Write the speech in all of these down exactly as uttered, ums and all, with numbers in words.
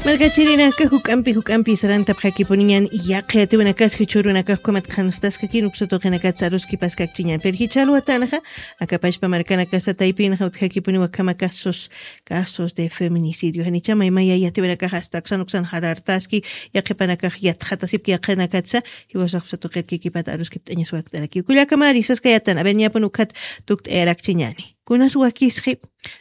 Markachirinaka juk'ampi juk'ampi sarantapxakipuniñan, yaqi atiwinakaski churunakax ukhamat qhanstaskakin uksa tuqinakatsa aruskipaskakchiñan. Pero jichha alwatanxa, akapachpa markanakasa taypinxa utjakipuniwa ukhama casos, casos de feminicidio. Janicha maymaya yatiwinakax asta uksan uksan jarartaski, yaqhipanakax yatxatasipki yaqhinakatsa, jiwasax uksa tuqit kikipata aruskipt'añas wakt'arakiw. Kullakamari saskayatan, a ver, ñapun ukhat tukt'ayarakchiñani. Kunas wakisxi,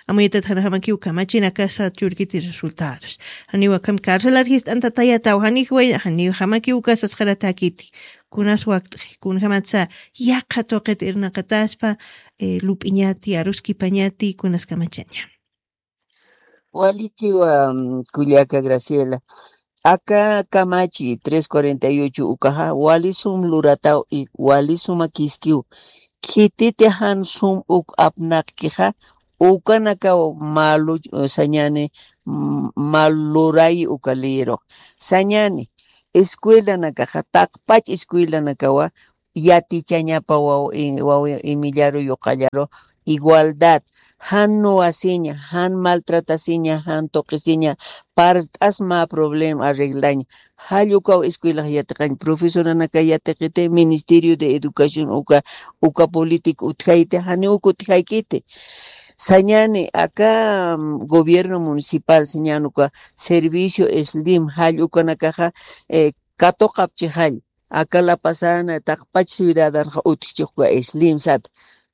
amuyatat janjamakiw kamachinakasa churkiti resultados. Janiw akham carcelar jist'antatayataw, janijway, janiw jamakiw uka sasxaratakiti. Kunas wakt'xi, kunjamatsa yaqha tuqit irnaqataspa, eh, lup'iñati, aruskipañati, kunas kamachaña. Walikiwa, mm, kullaka Graciela. Aka kamachi tres cuarenta y ocho ukaxa, wali sum lurataw y wali suma kiskiw. Khititi jan sum uk apnaqkixa, ukanakaw malu, sañani, mm, mal luray uka liyirux. Sañani, escuelanakaxa, taqpach escuelanakawa, yatichañapa waw-, i-, waw-, imillaru yuqallaru igualdad, jan nuwasiña, jan maltratasiña, jan tuqisiña, parlt'as mä problema arreglaña. Jall ukaw escuelax yatiqañ, profesoranaka yatiqiti, Ministerio de Educación uka, uka política utjayti, janiw uk utjaykiti. Sañani, aka, mm, gobierno municipal sañani uka servicio slim, jall ukanakaxa, eh, katuqapchi jall. Aka La Pazana, taqpach ciudadanxa utjchixka slim sat.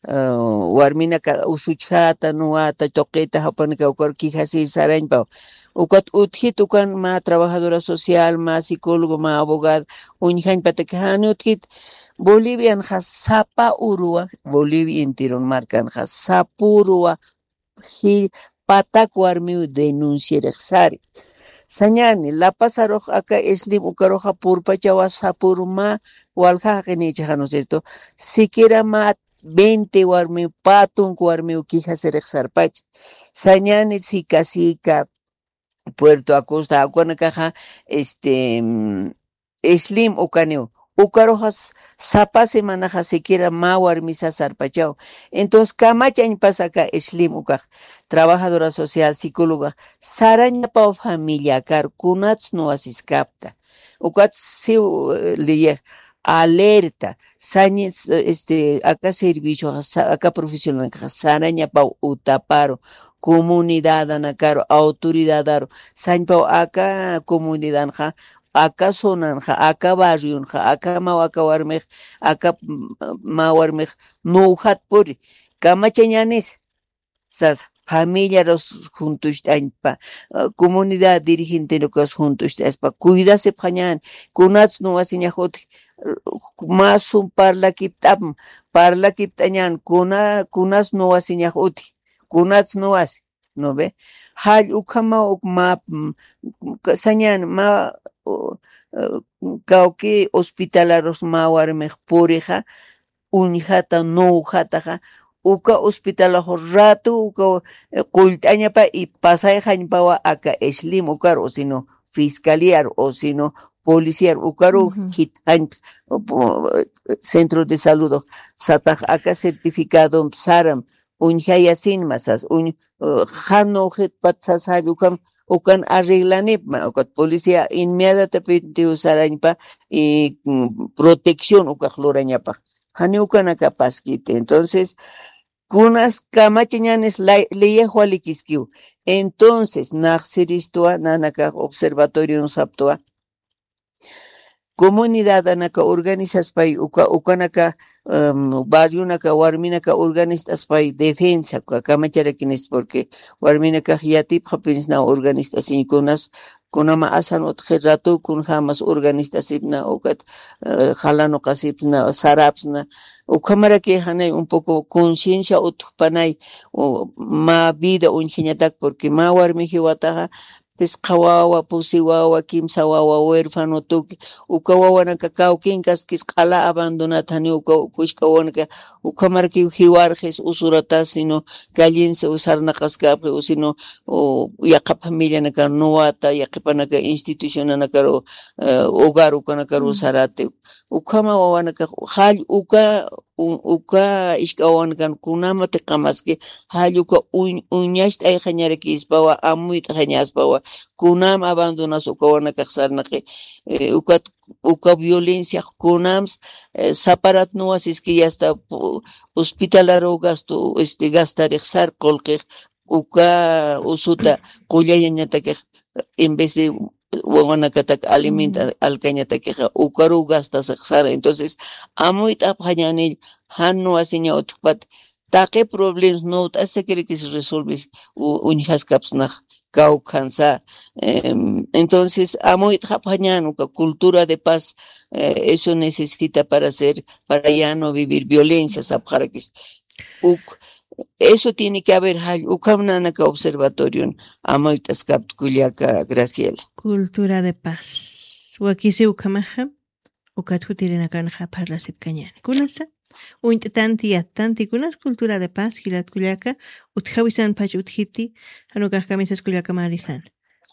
Ah, warminaka usuchjata, nuwata, tuqita, japanaka ukar quejasir sarañpaw. Ukat utjit ukan mä trabajadora social, mä psicólogo, mä abogado, uñjañpataki jani utjit. Bolivianxa sapa uruwa, Bolivia enteron markanxa sapa uruwa, ji-, patak warmiw denunciarix sari. Sañani, La Pazarux aka slim ukaruxa purpachawa sapuru mä walja jaqinichixanu, ¿cierto? Siquiera mä veinte warmiw, patunk warmiw quejasirix sarpacha. Sañani, Sica Sica, Puerto Acosta, ukanakaxa, este, mm, slim ukaniw. Ukaruxas sapa semanaxa siquiera mä warmisa sarpachaw. Entonces, kamachañpas aka slim ukax, trabajadora social, psicóloga, sarañapaw familiakar, kunats nuwasiskapta. Ukat siw, eh, liyix, alerta, sañis, eh, este, aka servicio, sa-, aka profesionalkaxa, sarañapaw utaparu, comunidadanakaru, autoridadaru, sañpaw aka comunidanxa, aka zonanxa, aka barrionxa, aka maw aka warmix, aka, mm, maw warmix nuwjat puri, kamachañanis, sasa, familiarus juntucht'añpa, ah, comunidad dirigentenukas juntucht'aspa, cuidasipxañan, kunats nuwasiñax utji, mä sum parlakipt'apm, parlakipt'añan, kuna-, kunas nuwasiñax utji, kunats nuwasi. ¿No ve? Jall ukhama uk mä, mm, ka-, sañan mä, u-, u-, kawki hospitalarus mä warmix purixa, uñjata, nuwjataxa, uka hospitalax ratu, uka, eh, qullt'añapa y pasayxañpawa aka slim ukaru, o sino fiscaliaru, o sino policiaru, ukaru Ujú. Khitxañpa, o, po-, centro de salud, satax aka certificado saram, uñjayasinma sas, uñ-, eh, jan nuwjitpat sas jall ukham, ukan arreglanipma, ukat policía inmediatamente usarañpa, y, mm, protección ukax lurañapax. Jani ukanakapaskiti. Entonces, kunas kamachañanis lay-, liyix walikiskiw. Entonces, naxsiristwa, nanakax observatorion saptwa, comunidadanaka organizaspay, uka, ukanaka, em, barrionaka, warminaka organizt'aspay defensa, uka kamacharakinis, porque warminakax yatipxapinsnaw organizt'asiñ kunas, kunama asan utji ratu, kunjamas organizt'asipna, ukat, eh, jalanuqasipna, sarapsna, ukhamaraki janay un poco conciencia utjpanay, u, mä vida uñjañatak, porque mä warmi jiwataxa, pisqa wawa, pusi wawa, kimsa wawa, huérfano tuki, uka wawanaka kawkinkaskis q'ala abandonat, jani uka, uka kushk'a wawanaka, ukhamarkiw jiwarxis, usuratas, sino callensi usarnaqaskapxi, o sino, o, yaqha familianaka nuwata, yaqhipanaka institucionanakaru, eh, hogar ukanakaru Ujú. Sarati, ukhama wawanaka, jall uka, u- uka isk'awankan kunamati qamaski, jall uka uñ- uñacht'ayxañarakispawa, amuyt'xañaspawa, kunam abandonas uka wanakax sarnaqi, eh, ukat uka violencia kunams, eh, saparat nuwasiski yasta pu- hospitalaru gastu este gastarix sar qulqix uka usuta qullayañatakix, en vez de wawanakatak alimenta alkañatakixa ukaru gastasix sara. Entonces amuyt'apxañanil, jan nuwasiña utjpat taqi problemas nuwt'asakirikis resolvis uñjaskapsnax kawkhansa. Entonces amuyt'xapxañan uka cultura de paz, eso necesita para ser, para ya no vivir violencia sapxarakis. Uk eso tiene que haber jall ukham nanaka observatorion. Amuyt'askapta kullaka Graciela. Cultura de paz wakisi ukhamaxa. Ukat jutirinakanxa parlasipkañani kunasa uñt'tanti yattanti kunas cultura de paz jilat kullaka. Utjawisan pach utjiti. Janukax kamisas kullaka marisan.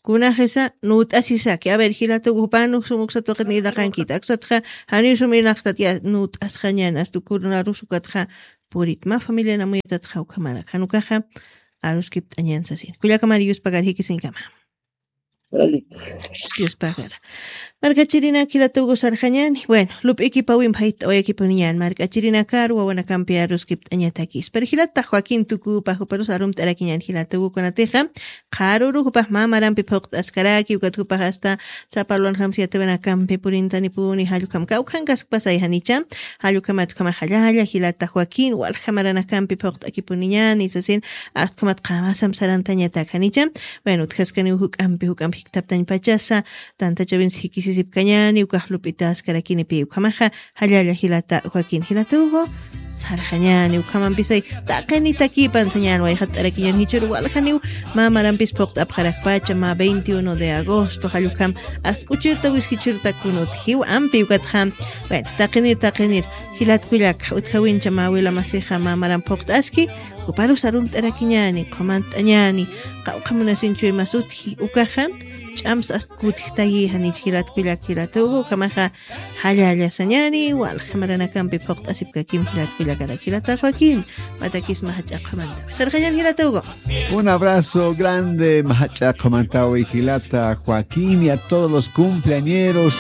Kunaxisa nuwt'asisaki a ver jilata ugupanux sumuksatuqit niraqankita aksatxa. Janiw sum irnaqtat ya nuwt'asxañan asta ukunarus ukatxa. Purit mä familian amuyatatxa ukhamarak janukaxa. Aruskipt'añan sasin kullaka mari yuspakar jikisinkama. Yuspakara. Markachirinak jilata ugu sarxañani bueno lup'ikipawin phayt'awayakipuniñan mark'achirinakar wawanakampi aruskipt'añatakis pero jilata joaquin tukupa juparus arumt'arakiñan jilata ugukunatixa. Qharuru jupax mä marampi phuqt'askaraki ukat jupax asta sapalwan jamsi yatiwanakampi purintanipuni jallukam kawkhankaskpasay janicha. Jallukhamat ukhamax jallalla jilata joaquin walja maranakampi phuqt'akipuniñani sasin. Astkhamat qamasam sarantañatak janicha. Bueno utjaskaniw juk'ampi juk'ampi jiktaptañpachasa. Tantachawinsi jikisisipkañani ukax lup'itaskarakinipi ukhamaxa. Jallalla jilata joaquin jilatugu. Sarxañani ukhamampisay taqinitakipan sañan wayxatt'arakiñan jichhuru waljaniw. Mä marampis phuqt'apxarakpacha mä veintiuno de agosto jallukam. Astk'uchirta wiskichirta kunutjiw ampi ukatxam. Bueno taqinir taqinir. Jilat kullaka utjawincha mä wila masixa mä maram phuqt'aski. Juparus arumt'arakiñani qhumant'añani. Qawqha munasinchuy mas utji ukaxa. Ch'amsa asta kutjtayi janich jilat kullak jilatugu ukhamaxa. Jallalla sañani walja maranakampi phuqt'asipkakim jilat kullakarak jilata joaquin. Matakisma jach'a qhumanta sarxañan jilatugu. Un abrazo grande majach'a qhumantawi jilata joaquin y a todos los cumpleañeros.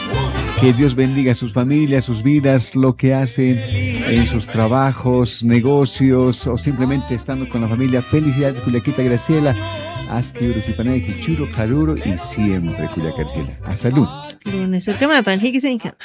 Que Dios bendiga a sus familias, sus vidas, lo que hacen en sus trabajos, negocios o simplemente estando con la familia. Felicidades, Cullaquita Graciela. Aski urukipanaki, churu, karuru y siempre, Cullaca Graciela. Hasta el lunes. Lunes, urkamapan, jikisinkama.